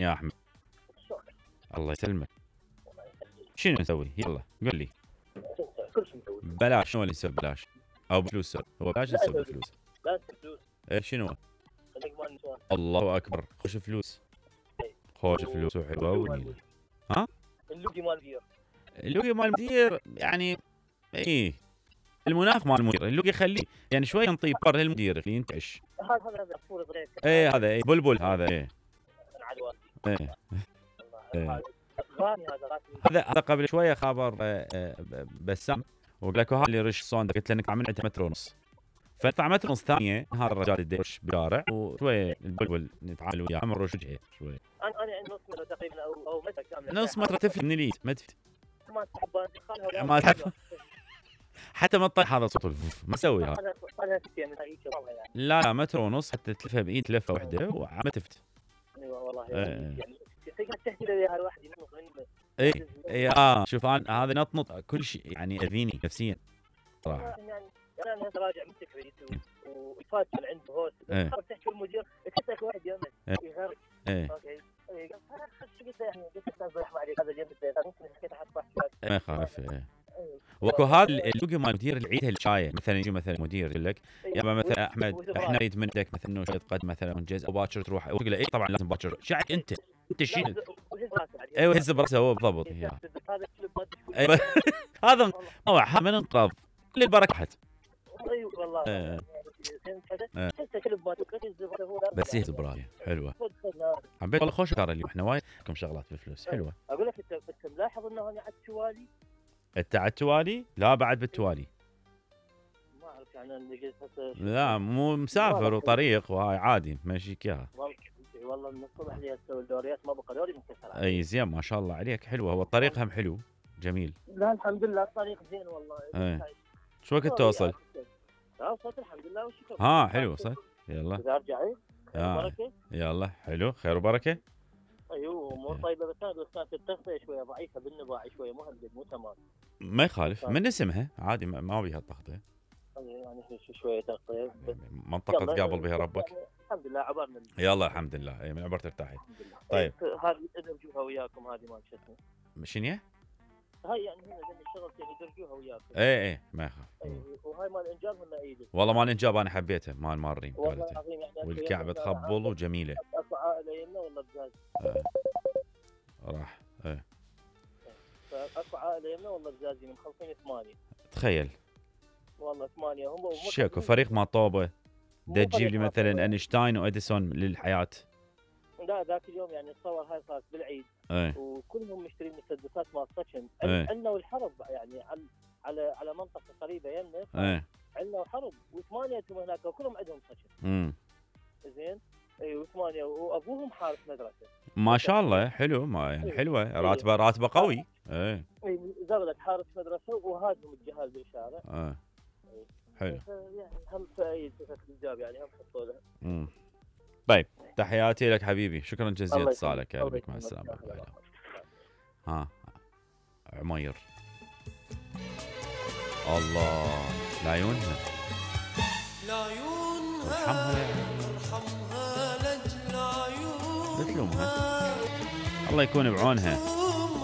يا احمد. الله يسلمك. شنو نسوي؟ يلا قل لي. كل شيء نسوي بلاش. شنو اللي يسوي بلاش؟ او بفلوس؟ هو بلاش يسوي بفلوس. لا فلوس. ايه شنو؟ خليك مال نسوان. الله اكبر. خوش فلوس. خوش فلوس وحلوه ونيله. ها؟ اللوجي مال المدير. اللوجي مال المدير يعني ايه المناخ مال المدير. اللوجي خليه يعني شوي نطي بر المدير اللي ينتعش. هذا فول غريب. ايه هذا ايه بلبل هذا ايه. ايه. هذا قبل شويه خبر بسام وقال لك هذا اللي رش صون قلت له انك عامل عنده متر ونص. فدفع متر ونص ثانيه هذا الرجال يدش بشارع وشويه البلبل نتعامل وياه مر وجهه شوي. انا نص متر تقريبا او متر كامل. نص متر تفلت من اليد ما تفلت. ما تحبها ما تحب حتى ما تطيح هذا صوت ما تسوي هذا. لا متر ونص حتى تلفها بايد لفه واحده وما تفت. ايوه والله يعني تقدر تحكي لي هالواحد ينط اي شوف انا هذا نطنط كل شيء يعني اذيني نفسيا صراحه. يعني انا راجع من تكريت وفات من عند هوس تحكي المدير كتك واحد يمك يغرق. اوكي ما يخالف. وكو هذا اللوجي مال مدير العيد هالشايه مثلا يجي مثلا مدير يقول لك يابا مثلا احمد احنا نريد منك مثلا انه شويه قد مثلا ونجز وباكر تروح وتقول له اي طبعا لازم باكر شعك انت شيل. ايوه هز براسه هو بالضبط. ايوه هذا هو من انقاذ كل البركه حت. ايوه والله بس يهز برايه حلوه. حبيت والله خوش كار اليوم احنا وايد لكم شغلات بفلوس حلوه. اقول لك انت ملاحظ انه انا على التوالي؟ انت على التوالي؟ لا بعد بالتوالي. ما اعرف يعني لا مو مسافر وطريق وهاي عادي ماشيك اياها. والله من الصبح لي اسوي الدوريات ما بقى دوري منكسر. اي زين ما شاء الله عليك حلوه. هو الطريق هم حلو جميل. لا الحمد لله الطريق زين والله. شو وقت توصل؟ لا وصلت الحمد لله والشكر. حلو وصلت. يلا اذا ارجع بركه. يلا حلو خير وبركه. ايوه مو طيبه بس كانت التغطيه شويه ضعيفه بالنباع شويه مو تمام. ما يخالف من اسمها عادي ما بيها التغطيه. يعني شويه تغطيه منطقه تقابل بها ربك. يعني الحمد لله عبرنا. يلا الحمد لله من عبر ترتاحي. طيب هذه ادرجوها وياكم هذه مال شو اسمه شنو هاي يعني هنا الشغلتين يدرجوها وياكم. ايه ما يخاف. وهاي مال انجاب هم ايدي. والله مال انجاب انا حبيتها مال مارين والله العظيم يعني والكعبه تخبل وجميله. اكو عائله يمنا ولا بزاز؟ راح اكو عائله يمنا ولا بزازين مخلصين 8. تخيل والله 8 هم شكو فريق ما طوبه دا تجيب لي مثلا اينشتاين واديسون للحياه. لا ذاك اليوم يعني الصور هاي صارت بالعيد وكلهم مشترين مسدسات مال سكن. عندنا والحرب يعني على منطقه قريبه يمنا. عندنا وحرب و8 هناك وكلهم عندهم سكن. زين اي و8 وابوهم حارس مدرسه. ما شاء الله حلو ما يعني حلوه راتبه قوي. اي زغلت حارس مدرسه وهاجم الجهال بالشارع. حلو يعني هم في الجاب يعني هم حطوا له. طيب تحياتي لك حبيبي شكرا جزيلا اتصالك يا بك مع السلامه. عمير الله لعيونها ارحمها لا تلومها الله يكون بعونها.